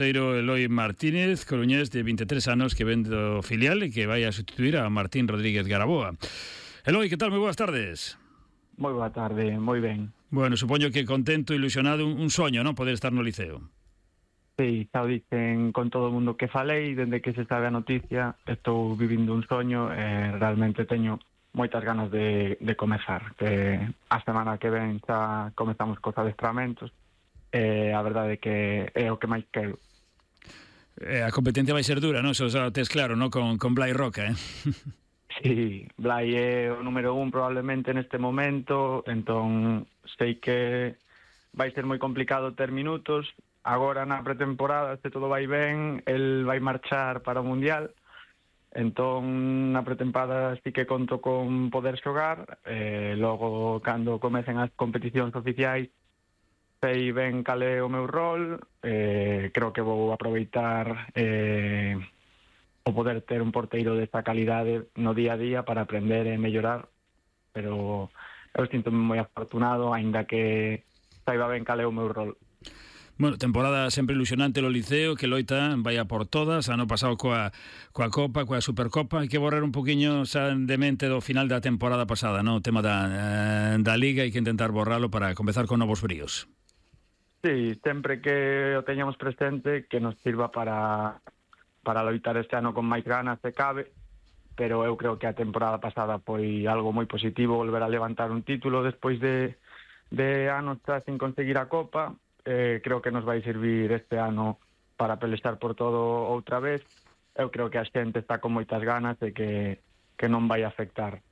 Eloi Martínez, coruñés de 23 anos que ven do filial e que vai a sustituir a Martín Rodríguez Garaboa. Eloi, que tal? Moi boas tardes. Moi boa tarde, moi ben. Bueno, supoño que contento, ilusionado, un soño, non? Poder estar no Liceo. Sí, xa o dicen con todo o mundo que falei, dende que se sabe a noticia, estou vivindo un soño e realmente teño moitas ganas de comezar, que a semana que ven xa comezamos cos adestramentos e a verdade é que é o que máis quero. A competencia vai ser dura, non? Eso xa o tes claro, non? Con Blai Roca, eh? Sí, Blai é o número 1 probablemente neste momento, entón sei que vai ser moi complicado ter minutos. Agora na pretemporada, se todo vai ben, el vai marchar para o Mundial, entón na pretemporada sí que conto con poder xogar, logo cando comecen as competicións oficiais sei ben cal é o meu rol, creo que vou aproveitar o poder ter un porteiro desta calidade no día a día para aprender e mellorar, pero eu sinto-me moi afortunado, aínda que saiba ben cal é o meu rol. Bueno, temporada sempre ilusionante no Liceo, que loita vai a por todas, ano pasado coa Copa, coa Supercopa, hai que borrar un poquinho xa de mente do final da temporada pasada, non? O tema da Liga, hai que intentar borralo para comezar con novos bríos. Sí, sempre que o teñamos presente, que nos sirva para loitar este ano con máis ganas se cabe, pero eu creo que a temporada pasada foi algo moi positivo volver a levantar un título despois de anos sin conseguir a Copa. Creo que nos vai servir este ano para pelexar por todo outra vez. Eu creo que a xente está con moitas ganas e que non vai afectar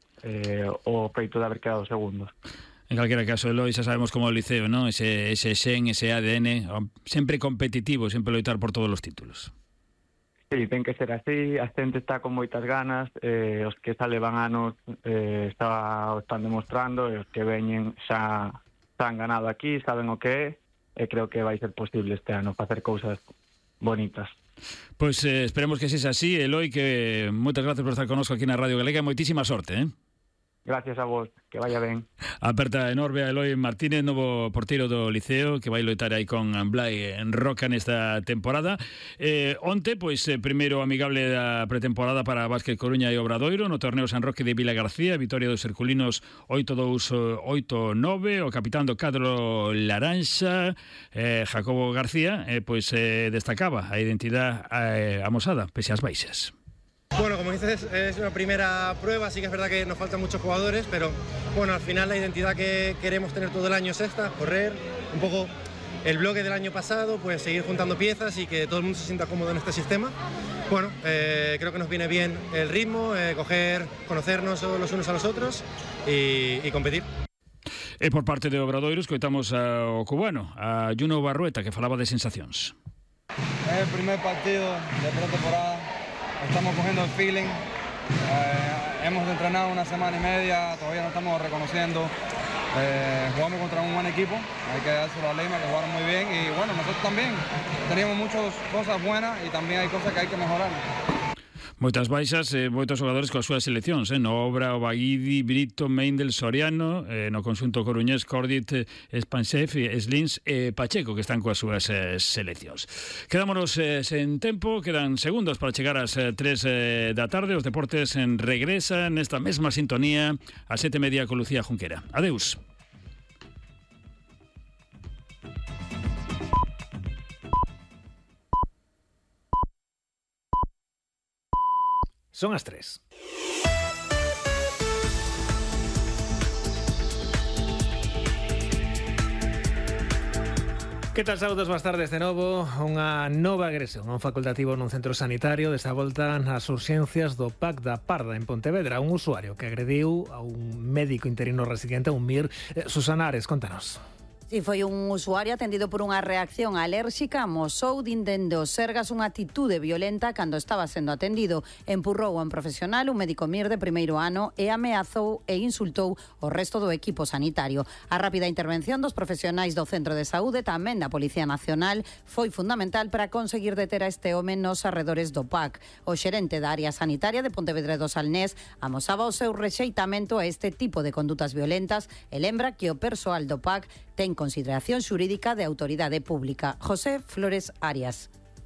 o feito de haber quedado segundos. En calquera caso, Eloi, xa sabemos como o Liceo, non? Ese xen, ese ADN, sempre competitivo, sempre loitar por todos os títulos. Sí, ten que ser así, a xente está con moitas ganas, os que xa levan anos o están demostrando, e os que veñen xa han ganado aquí, saben o que é, e creo que vai ser posible este ano facer cousas bonitas. Pois esperemos que sexa así, Eloi, que moitas gracias por estar connosco aquí na Radio Galega, moitísima sorte, eh? Gracias a vos, que vaya ben. Aperta enorme a Eloi Martínez, novo porteiro do Liceo, que vai loitar aí con Blai Roca nesta temporada. Onte, pois, primeiro amigable da pretemporada para Básquet Coruña e Obradoiro, no torneo San Roque de Vila García, vitoria dos herculinos 8-2, 8-9, o capitán do cadro Laranxa, Jacobo García, pois destacaba a identidade amosada, pese ás baixas. Bueno, como dices, es una primera prueba, sí que es verdad que nos faltan muchos jugadores, pero bueno, al final la identidad que queremos tener todo el año es esta, correr, un poco el bloque del año pasado, pues seguir juntando piezas y que todo el mundo se sienta cómodo en este sistema. Bueno, creo que nos viene bien el ritmo, conocernos los unos a los otros y competir. E por parte de Obradoiro, escoitamos ao cubano, a Juno Barrueta, que falaba de sensacións. Es el primer partido de pretemporada. Estamos cogiendo el feeling, hemos entrenado una semana y media, todavía no estamos reconociendo, jugamos contra un buen equipo, hay que dárselo a Lima, que jugaron muy bien, y bueno, nosotros también teníamos muchas cosas buenas y también hay cosas que hay que mejorar. Moitas baixas, moitos xogadores coas súas seleccións, no Obra, o Baguidi, Brito, Meindel, Soriano, no conxunto coruñés, Cordit, Spansef, Slins e Pacheco, que están coas súas seleccións. Quedámonos sen tempo, quedan segundos para chegar ás 3 da tarde. Os deportes regresan nesta mesma sintonía ás 7:30 con Lucía Junquera. Adeus. Son as 3. Que tal, saúdos, boas tardes de novo. Unha nova agresión a un facultativo nun centro sanitario, desta volta nas urxencias do PAC da Parda en Pontevedra. Un usuario que agrediu a un médico interino residente, un MIR. Susana Ares, contanos. Si foi un usuario atendido por unha reacción alérxica, amosou dindendo Sergas unha atitude violenta cando estaba sendo atendido. Empurrou a un profesional, un médico MIR de primeiro ano, e ameazou e insultou o resto do equipo sanitario. A rápida intervención dos profesionais do Centro de Saúde, tamén da Policía Nacional, foi fundamental para conseguir deter a este home nos arredores do PAC. O xerente da área sanitaria de Pontevedra do Salnés amosaba o seu rexeitamento a este tipo de condutas violentas e lembra que o persoal do PAC ten consideración xurídica de autoridade pública. José Flores Arias.